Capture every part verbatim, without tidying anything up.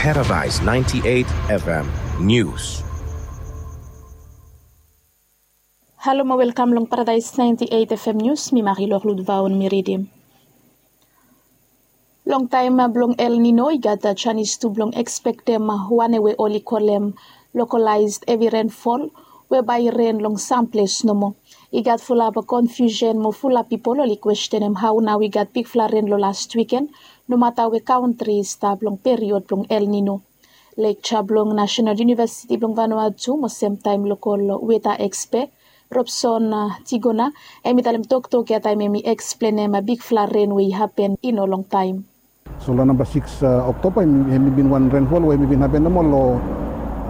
Paradise ninety-eight F M News. Halo mo welkam long Paradise ninety-eight F M News, mi Marie Lorlud Vaon mi ridim. Long taem blong El Nino i gat janis tu blong ekspektem wane we oli kolem localized heavy rainfall we bae i ren long sam ples nomo. I gat fulap confusion mo fulap pipol oli kwestenem hao nao i gat bigfala ren long last wiken, nomata we kantri i stap long period blong El Nino. Lekja blong National University blong Vanuatu mo semtaem lokol weta ekspe Robson Tigona, hem i talem toktok ya taem hem i eksplenem bigfala ren we i hapen i no longtaem. So long namba sikis Oktoba hem i bin wan renfol we hem i bin hapen nomo long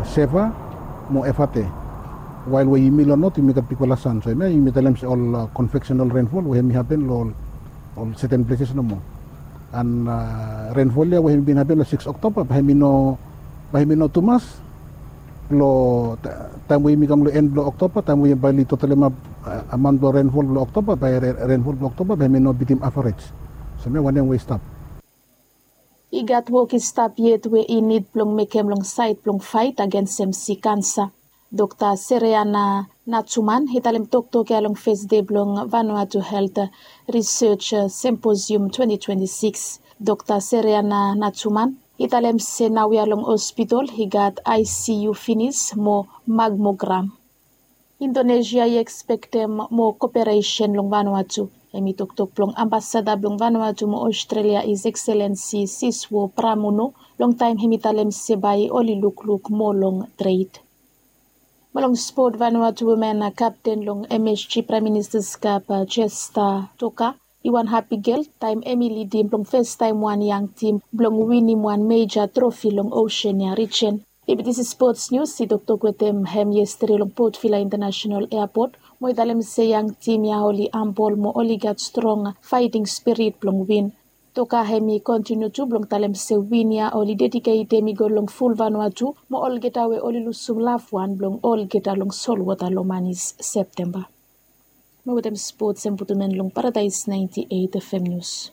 Seva mo Efate. Wael we yumi long not yumi gat bigfala san, so hemia yumi talem se ol konveksenal renfol we hem i hapen long ol seten pleses nomo. An renfol ya we hem i bin hapen long sikis Oktoba bae hem i no, bae hem i no tumas. Long taem we yumi kam long en blong Oktoba, taem we bae oli totalemap amon blong renfol blong Oktoba, bae renfol blong Oktoba bae hem i no bitim avarej. So hemia wanem we i stap. I gat wok i stap yet we i nid blong mekem long saed blong faet agensem sik kansa. Dokta Sereana Natsuman i talem toktok ya long fes dei blong Vanuatu Helt Risej Semposium twenti twenti sikis. Dokta Sereana Natsuman i talem se naoia long hospitol i gat ICU finis mo magmogram. Indonesia i ekspektem moa koperesen long Vanuatu. Hem i toktok blong ambasada blong Vanuatu mo Australia, His Excellency Siswo Pramono, long taem hem i talem se bae oli lukluk moa long tred. Mo long spot, Vanuatu women kapten long MSG Prime Minister's Cup, Jesta Toka, i wan hapi gel taem hem i lidim blong fes taem wan yang tim blong winim wan meja trofi long Oseania rijen. Bibitisi Spots Nius i toktok wetem hem yestede long Port Vila Intanasenal Eapot mo i talem se yang tim ya oli hambol mo oli gat strong faeting spirit blong win. Toka hem i kontiniu tu blong talem se win ya oli dediketem i go long ful Vanuatu mo olgeta we oli lusum lavwan blong olgeta long solwota long manis Septemba. Mo wetem spots hem putum en long Paradise ninety-eight F M News.